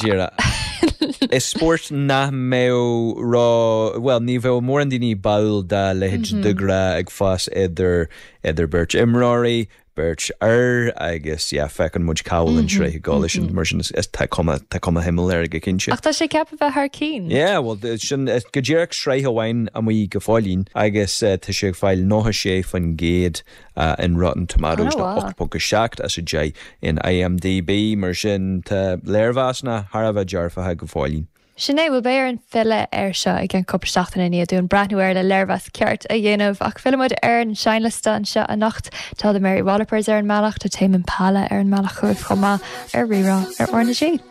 Díreach. Is spórt nach mbeadh ró, bhuel, ní bheadh mórán daoine báúil dá leithéid de ghrá ag fás idir idir beirt imreoirí, beirt fhear agus yeah, feiceann muid cá bhfuil an tsraith ag dul leis sin, mar sin is tá cuma tá cuma shuimiúil air go cinnte. Ach tá sé ceaptha bheith thar cinn. Yeah, bhuel, sin go díreach sraith amháin amuigh go fóillín agus tá sé ag fáil 96% in Rotten Tomatoes nó 8.7 as 10 in IMDb. Mar sin, tá léirmheasanna thar a bheith dearfacha go fóillín. Sin é, bhuel beidh orainn filleadh air seo i gceann cúpla seachtain i ndiaidh dúinn breathnú air le léirmheas ceart a dhéanamh. Ach fillfidh muid ar an seinnliosta anseo anocht. Tá The Mary Wallopers ar an mbealach, tá Tame Impala ar an mbealach chugaibh chomh maith ar Rí-Rá ar RnaG.